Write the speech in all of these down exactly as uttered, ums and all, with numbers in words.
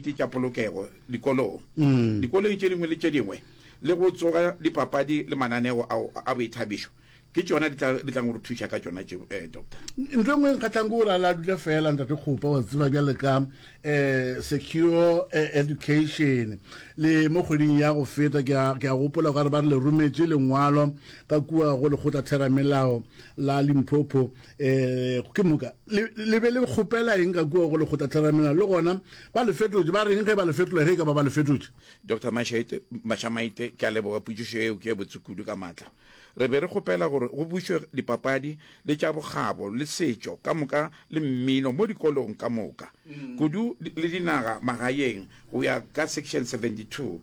dikomiti tša polokego dikolong, dikolong tše dingwe le tše dingwe, le go tsoga dipapadi le mananeo ao a boithabišo. Ke tšona di tla di tlang go re thuša ka tšona tše, eh, Doctor. Ntho e nngwe e nkgatlhang ke gore a la dula fela Ntate Kgopa wa tseba bjale ka um secure education le mo kgweding ya go feta ke a ke a gopola gore ba re le rometše lengwalo ka kua go lekgotla theramelao la Limpopo um ke moka le le be le kgopela eng ka kua go lekgotla theramelao le gona ba le fetotše ba reng ge ba le fetola ge e ka ba ba le fetotše? Doctor Mashite, Mashamaite, ke a leboga potšišo eo ke e botse kudu ka maatla. Re be re kgopela gore go bušwe dipapadi le tša bokgabo le setšo ka moka le mmino mo dikolong ka moka, kudu le dinaga magaeng go ya ka Section seventy two,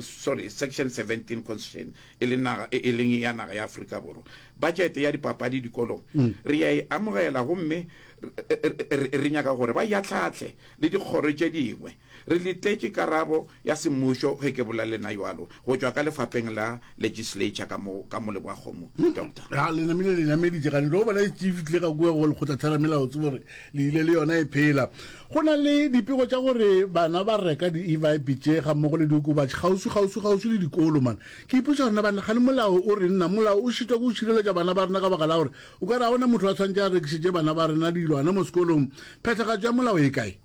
sorry, Section seventeen Constitution e le naga e leng ya naga ya Afrika Borwa. Budget ya dipapadi dikolong re ya e amogela gomme re nyaka gore ba e ahlaahle le dikgoro tše dingwe. Re letetše karabo ya semmušo ge ke bolela le lena bjalo, go tšwa ka lefapeng la Legislature ka mo, ka mo Leboakgomo, Doctor. Ga le namile le nameditše gane tlo bona e fihlile ka kua go lekgotlatheramelao tsebo gore le ile le yona e phela. Go na le dipego tša gore bana ba reka di-e-vibe tše gammogo le diokobatši kgauswi kgauswi kgauswi le dikolo man. Ke ipotša gore na bana gane molao o reng na molao o šitwa ke go šireletša bana ba rena ka baka la gore o ka re ga gona motho a tshwanetše a rekišetše bana ba rena dilwana mo sekolong. Phethagatšo ya molao e kae?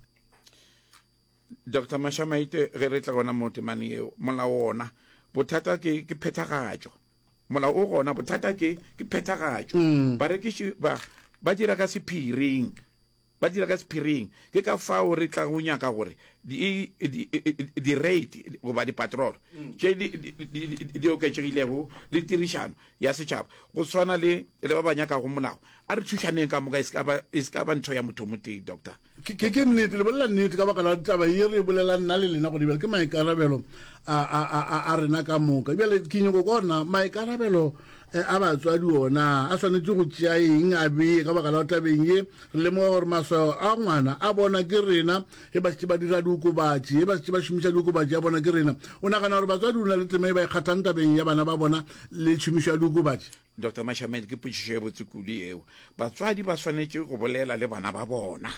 Doctor Mashamaite, ge re tla gona mo temaneng yeo, molao wona, bothata ke, ke phethagatšo. Molao o gona, bothata ke, ke phethagatšo. Mm. Barekiši ba, ba dira ka sephiring. Ba dira ka sephiring. Ke ka fao re tla go nyaka gore di, di, di rate goba di-patrol mm. tše di, di, di, di oketšegilego le tirišano ya setšhaba go swana le le ba ba nyakago molao. A re thušaneng ka moka, e se ka ba, e se ka ba ntho ya motho o motee, Doctor. Ke, ke, ke nnete, le bolela nnete ka baka la taba ye re e bolelang nna le lena gone bjale, ke maikarabelo a, a, a, a, a rena ka moka. Bjale ke nyoko kwa gore na maikarabelo eh, a batswadi ona a swanetše go tšea eng a bee ka baka la tabeng ye re lemoga gore maswao a ngwana a bona ke rena ge ba šetše ba dira diokobatši, ge ba šetše ba šomiša diokobatši a bona ke rena. O nagana gore batswadi o na le tema e ba e kgathang tabeng ya bana ba bona le tšhomišo ya diokobatši? Doctor Mashamel, ke potšišo e botse kudu yeo. Batswadi ba swanetše go bolela le bana ba bona,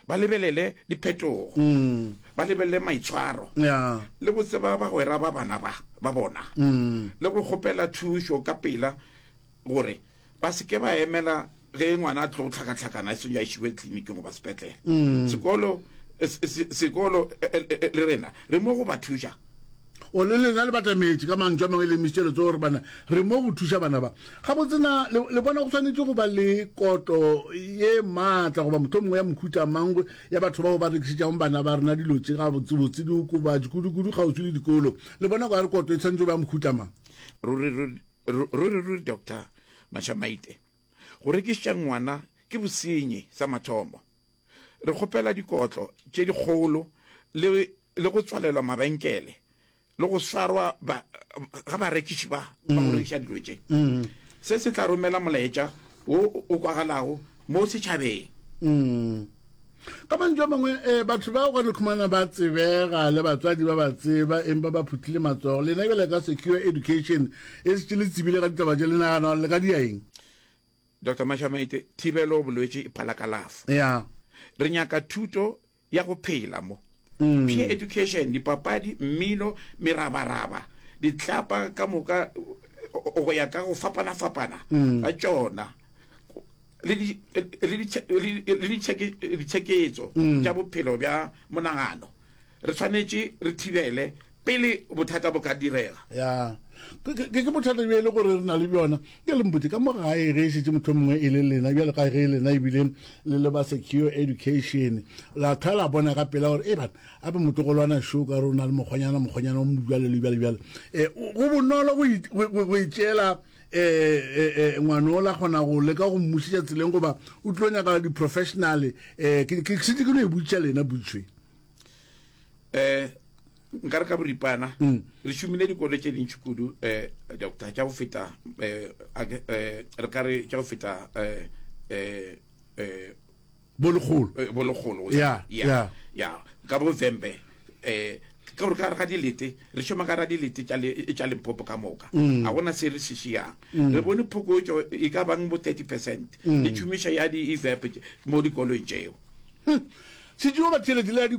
ba lebelele diphetogo, mm. ba lebelele maitshwaro yeah. le go tseba bagwera ba bana ba ba bona mm. le go kgopela thušo ka pela gore ba se ke ba emela ge ngwana a tlo tlhakatlhakana e seng a išiwe tleliniking goba sepetlele. Mm. Sekolo sekolo le rena re mo go ba thuša. O le lena le batametše, ka mantšu a mangwe le emišitše letsogo gore bana re mo go thuša bana ba. Gabotse na le, le bona go swanetše go ba le kotlo ye maatla goba mohlomongwe ya mohuta mang ya batho bao ba rekišetšago bana ba rena dilo tše gabotsebotse, diokobatši, kudu-kudu kgauswi le dikolo? Le bona okare kotlo e swanetše go ba ya mohuta mang? Ruri, ruri, ruri, ruri, Doctor Mashamaite, go rekišetša ngwana ke bosenyi sa mathomo. Re kgopela dikotlo tše dikgolo le, le go tswalelwa mabenkele le go swarwa ba, ga barekiši ba ba go rekiša dilo tše. Se se tla romela molaetša wo o kwagalago mo setšhabeng. Ka mantšu a mangwe, eh, batho bao ka no khumana ba tsebega le batswadi ba ba tseba, empa ba phuthile matsogo. Lena bjale ka Secure Education e šetše le tsebile ka ditaba tše, le nagana gore le ka dia eng? Doctor Mashamaite, Thibelo bolwetši e phala kalafo. Yeah. Re nyaka thuto ya go phela mo. Mm. Peer education, dipapadi, mmino, merabaraba, ditlapa ka moka go ya ka go fapana-fapana mm. ga tšona le ditšheketso mm. tša bophelo bja monagano. Re swanetše re thibele pele bothata bo ka direga. Ya. Ke, ke, ke bothata bjo e le gore re na le bjona. Ke le mpotše, ka mo gae ge e šetše motho mongwe e le lena, bjalo ka ge lena ebile le le ba Secure Education, la thwa la bona ka pela gore, e bana, ape motlogolwana šo ka re o na le mokgwanyana, mokgwanyana o mo bjale le bjale bjale. E, go bonolo go, go, go itšeela e, e, e, ngwana o la kgona go leka go mmušetša tseleng goba o tlo nyaka di-professional. E, ke, ke šetše ke no e botšiša lena potšo e. Eh, nka re ka boripana mm. re šomile dikolo tše dintši kudu eh doctor tša go feta eh, eh re ka re tša go feta eh eh eh bolekgolo bolekgolo ya ya ya ka bo Vhembe eh ka gore ka re ga dilete re šoma ka ra dilete tša tša Limpopo ka moka mm. a gona se re se šiang mm. re bone phokotšo e ka bang bo thirty percent mm. le tšhomišo ya di-evap mo dikolong tšeo. Hm. Setšo ba tšhelete le ya dikwa